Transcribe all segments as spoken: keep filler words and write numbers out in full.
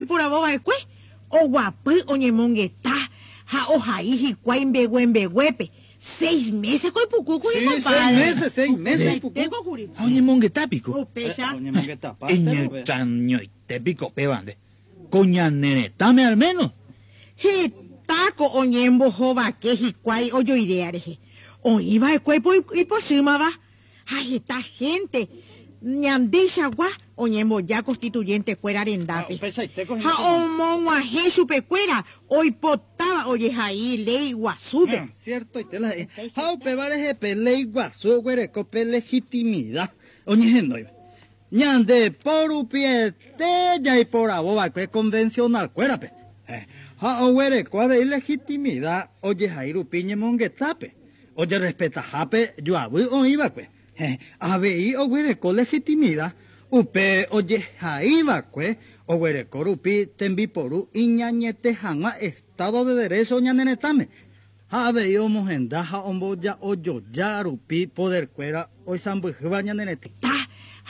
Oiporavova'ekue oguapy oñemongeta ha ohai hikuái mbeguembeguépe. Seis meses ko ipukúkuri, Sí, compadre. seis meses, seis meses ipukú. Upeichaite Ha oñemongetápiko. Upéicha. Iñextrañoitépiko péva nde. Ko ñane retãme al menos. Hetáko oñembohovake hikuái ojoidea rehe. Oĩva'ekue ipochýmava ha heta gente ñandeichagua oñemboja constituyente-kuéra rendápe. Upeichaite Ha omog̃uahẽ chupekuéra oipotáva ojehai léi guasúpe. Ah, cierto, la ha upéva rehe pe léi guasu oguereko pe legitimidad oñehenóiva. Ñande porupiete jaiporavova'ekue convencional-kuérape. Eh, ha oguereko avei legitimidad ojehai rupi ñemongetápe. Ojerespetahápe joavy oĩva'ekue. Eh, avei oguereko legitimidad upe ojehaiva'ekue oguereko rupi tembiporu iñañete hag̃ua Estado de Derecho ñane retãme. Ha avei omohenda ha omboja ojoja rupi poderkuéra oisãmbyhýva ñane retã.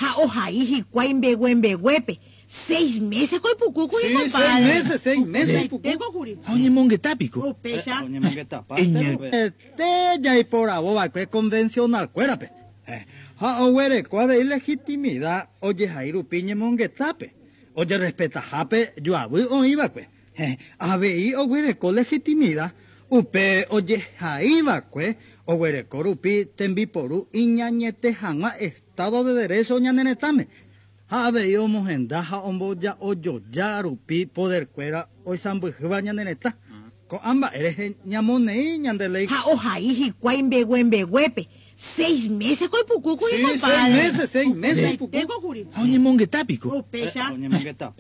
Ha ohai hikuái mbeguembeguépe. Seis meses ko ipukúkuri, Sí, compadre. seis meses, seis meses ipukú. Upeichaite Ha oñemongetápiko. Upéicha. Iñextrañoite jaiporavova'ekue convencional-kuérape. Eh, ha oguereko avei legitimidad ojehai rupi ñemongetápe. Ojerespetahápe joavy oĩva'ekue. Eh, avei oguereko legitimidad upe ojehaiva'ekue oguereko rupi tembiporu iñañete hag̃ua Estado de Derecho ñane retãme. Ha avei omohenda ha omboja ojoja rupi poderkuéra oisãmbyhýva ñane retã. Ko'ã mba'e rehe ñamoneĩ ñande léi. Ha ohai hikuái mbeguembeguépe. Seis meses ko ipukúkuri, Sí, compadre. seis meses, seis meses ipukú. Upeichaite Ha oñemongetápiko. Upéicha.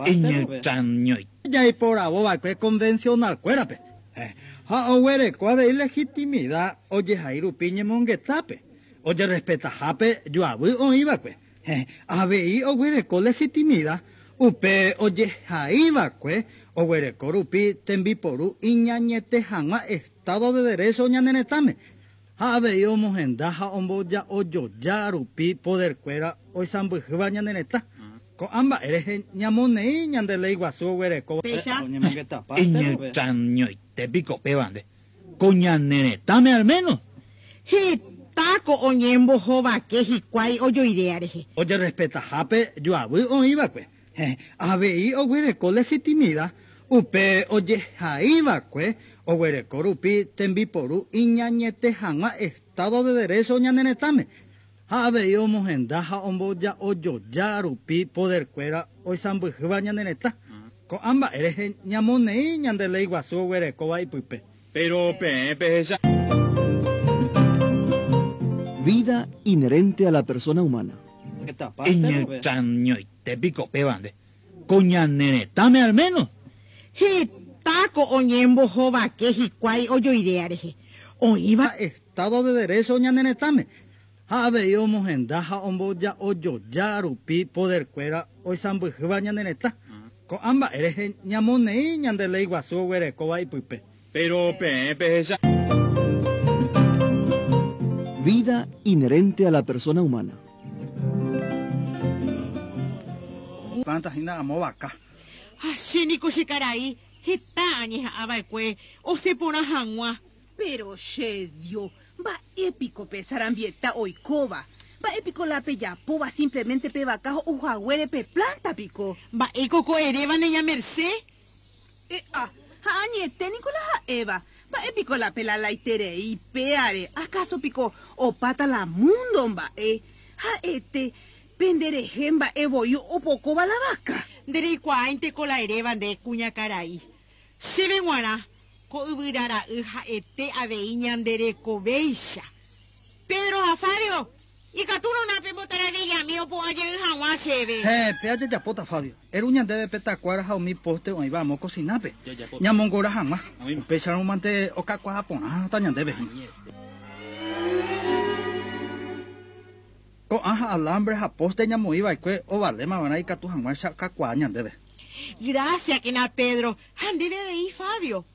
Iñextrañoite Jaiporavova'ekue convencional-kuérape. Eh, ha oguereko avei legitimidad ojehai rupi ñemongetápe. Ojerespetahápe joavy oĩva'ekue. Eh, avei oguereko legitimidad upe ojehaiva'ekue oguereko rupi tembiporu iñañete hag̃ua Estado de Derecho ñane retãme. Ha avei omohenda ha omboja ojoja rupi poderkuéra oisãmbyhýva ñane retã. Ko'ã mba'e rehe ñamoneĩ ñande léi guasu oguereko. Upéicha. Iñextrañoitépiko péva nde. Ko ñane retãme al menos. Hetáko oñembohovake hikuái ojoidea rehe. Ojerespetahápe joavy oĩva'ekue. Eh, avei oguereko legitimidad upe ojehaiva'ekue oguereko rupi tembiporu iñañete hag̃ua Estado de Derecho ñane retãme. Ha avei omohenda ha omboja ojoja rupi poderkuéra oisãmbyhýva ñane retã. Ko'ã mba'e rehe ñamoneĩ ñande léi guasu oguerekóva ipype. Pero peẽ pehecha. Vida inherente a la persona humana. Iñextrañoitépiko péva nde. Ko ñane retãme al menos. Hetáko oñembohovake hikuái ojoidea rehe. Oĩva Estado de Derecho ñane retãme. Ha avei omohenda ha omboja ojoja rupi poderkuéra oisãmbyhýva ñane retã. Ko'ã mba'e rehe ñamoneĩ ñande léi guasu oguerekóva ipype. Pero peẽ pehecha. Vida inherente a la persona humana. Planta hína amo vaka. Ha chéniko che karai heta añeha'ãva'ekue osẽporã hag̃ua. Pero che Dios, mba'épiko pe sarambieta oikóva. Mba'épiko la pejapóva simplemente pe vaka ho'uhaguére pe planta piko. Mba'éiko ko eréva ne ña Merced? Eh, ah, ha añete niko la ha'éva. Mba'épiko la pelalaiterei péare. Acaso piko opáta la mundo mba'e. Ha'ete penderehe mba'e voi opokóva la vaka. Ndereikuaáinteko la eréva nde kuñakarai. Chéve g̃uarã ko yvyrara'y ha'ete avei ñanderekovéicha. Pedro ha Fabio, ikatúrona pembotaravillami opu'ãjey hag̃ua chéve. He, péa jajapóta, Fabio. Eru ñandéve pe takuára ha umi poste oĩva amo kosinápe. Ñamongora hag̃ua. Upéicharõ mante okakuaa porãta ñandéve. Ko'ã ha alambre ha poste ñamoĩva'ekue ovalémava'erã ikatu hag̃uáicha okakuaa ñandéve. Gracias, kena Pedro. Ha ndéve avei, Fabio.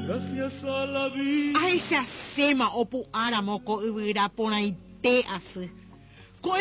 Gracias a la vida. Ahechaséma opu'ãramo ko yvyra porãite asy.